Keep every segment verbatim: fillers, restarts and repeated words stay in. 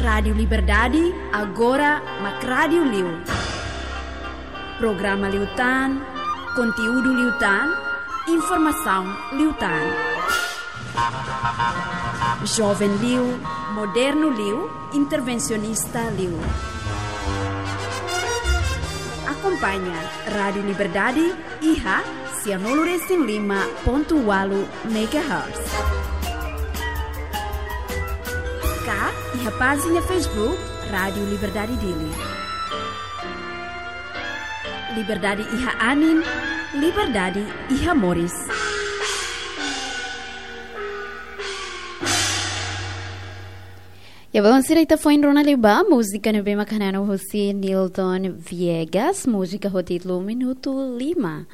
Rádiu Liberdade, agora mak rádiu liu. Programa liután, konteúdu liután, informasaun liután. Joven liu, modernu liu, intervensionista liu. Akompaña Rádiu Liberdade iha sianulu resin lima pontu ualu megahertz. Ka iha pájina Facebook Rádiu Liberdade Dili. Liberdade iha anin, liberdade iha moris. Ya, belun sira, ita foin rona liu ba múzika ne'ebé mak hananu husi Nilton Viegas, múzika ho títulu Minutu Lima.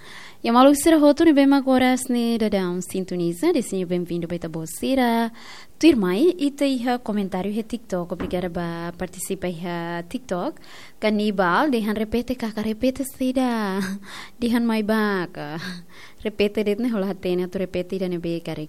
Ya, maluk sira hotu ne'ebé mak oras ne'e daudaun sintoniza, dezeja benvindu ba ita-boot sira. Tuirmai, ita iha komentáriu iha TikTok, obrigada ba partisipa iha TikTok. Kanibal, dehan repete kaka, repete saida. Dehan mai ba ka. Repete de'it ne'e, hola hatene atu repete ida ne'ebé karik.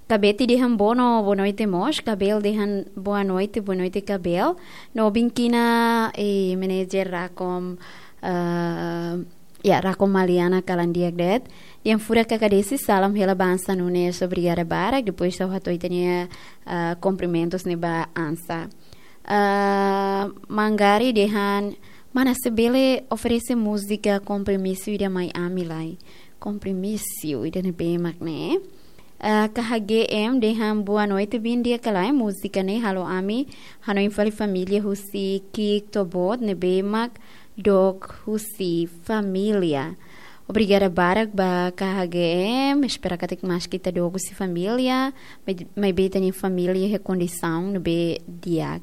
Kabeti dehan bono, boa noite mós. Kabel dehan boa noite, boa noite Kabel. No Binkina, eh, manager Rakom, eh, ya, Rakom Maliana kalan di'ak de'it. Dehan furak kaka Desi, salam hela ba Ansa Nunes, obrigada barak. Depois ha'u hato'o ita-nia, eh, kumprimentus ne'e ba Ansa. Ah, Mangari dehan, mana se bele oferese múzika Kompromisu ida mai ami lai. Kompromisu ida ne'ebé mak ne'e. Ah, K H G M dehan boa noite, bin di'ak ka lae, múzika ne'e halo ami hanoin fali família husi ki'ik to'o boot ne'ebé mak dook husi família. Obrigada barak ba K H G M, espera katak maski ita dook husi família, mai, maibé ita-nia família iha kondisaun ne'ebé di'ak.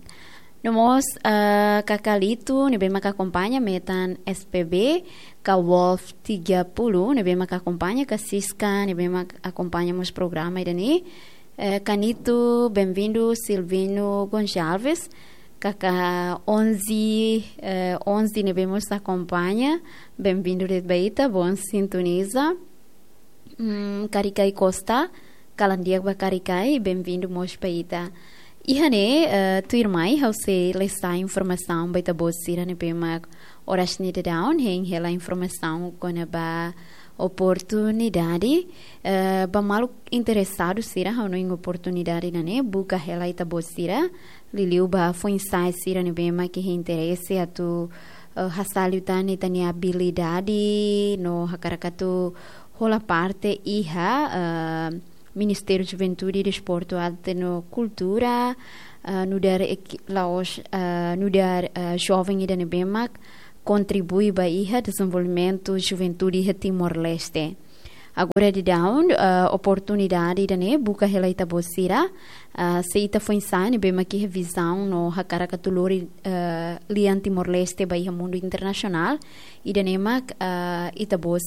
No mós, ah, Kakalito, ne'ebé mak akompaña, metan S P B, ka Wolf tiga puluh, ne'ebé mak akompaña, ka Siska, ne'ebé mak akompaña mós programa ida-ne'e. Eh, Kanito, benvindu, Silvino Gonçalves, kaka onze, eh, onze ne'ebé mós akompaña, benvindu de'it ba ita, bom sintoniza. Hmm, Karikai Costa, kalan di'ak ba Karikai, benvindu mós ba ita. Iha ne'e, eh, tuirmai, ha'u sei lesa informasaun ba ita-boot sira ne'ebé mak oras ne'e daudaun, hein hela informasaun kona-ba oportunidade, eh, ba maluk interesadu sira hanoin oportunidade ida-ne'e, buka hela ita-boot sira, liuliu ba foin-sa'e sira ne'ebé mak iha interese atu, eh, hasa'e liután ita-nia abilidade, no hakarak atu hola parte iha, eh, Ministériu Juventude, Desportu, Arte no Kultura, ah, nu'udar ek-, la'ós, ah, nu'udar, ah, joven ida ne'ebé mak kontribui ba iha dezenvolvimentu juventude iha Timor-Leste. Agora daudaun, ah, oportunidade ida-ne'e buka hela ita-boot sira, ah, se ita foin-sa'e ne'ebé mak iha vizaun no hakarak atu lori, ah, lian Timor-Leste ba iha mundu internasionál, ida-ne'e mak, ah, ita-boot